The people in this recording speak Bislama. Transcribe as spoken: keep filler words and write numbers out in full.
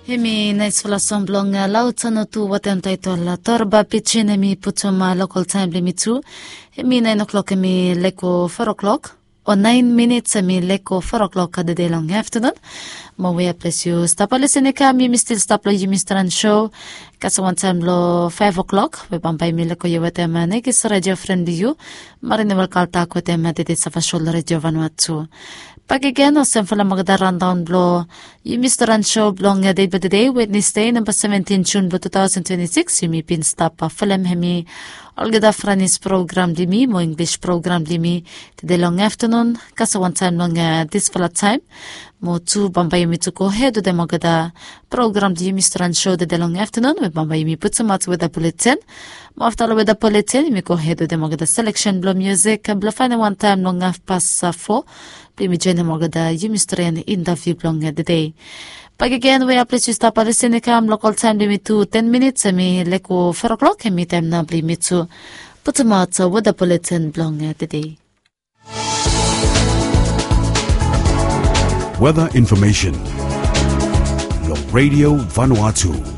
Hemi naisfala song blong laotsano tu watem taitol torba pijin, hemi putum lokol taem blong yumi tu. Hemi naen oklok, hemi leko foa oklok, o naen minits hemi leko foa oklok tede long aftanun. Mo we a ples yu stap lisin i kam, yumi stil stap long yumi stran sho kasem wantaem long faef oklok we bambae yumi leko yu wetem nekis redio fren blong yu, Marina Welkaltak, wetem tede sava sho long redio Vanua tu. Bakegen olsem fala magada randaon blong yumi stran sho blong dei blong tede, Wednesde, namba seventin Jun blong tu taosen twenti sikis. Yumi bin stap folem hemi olgeta Franis program blong yumi mo Inglis program blong yumi tede long aftanun kasem wantaem long disfala taem. Mo tu bambae yumi tu gohed wetem olgeta program blong yumi stran sho tede long aftanun we bambae yumi putumaot weda buletin. Mo afta long weda buletin yumi gohed wetem olgeta seleksen blong musik blong faenem wantaem long afpas fo blong yumi joenem olgeta yumi stren intaviu blong tede. Bakegen we a ples yu stap lisin i kam, lokol taem blong yumi tu ten minits hemi leko foa oklok, hemi taem nao blong yumi tu putumaot weda buletin blong tede. Weather information long Radio Vanuatu.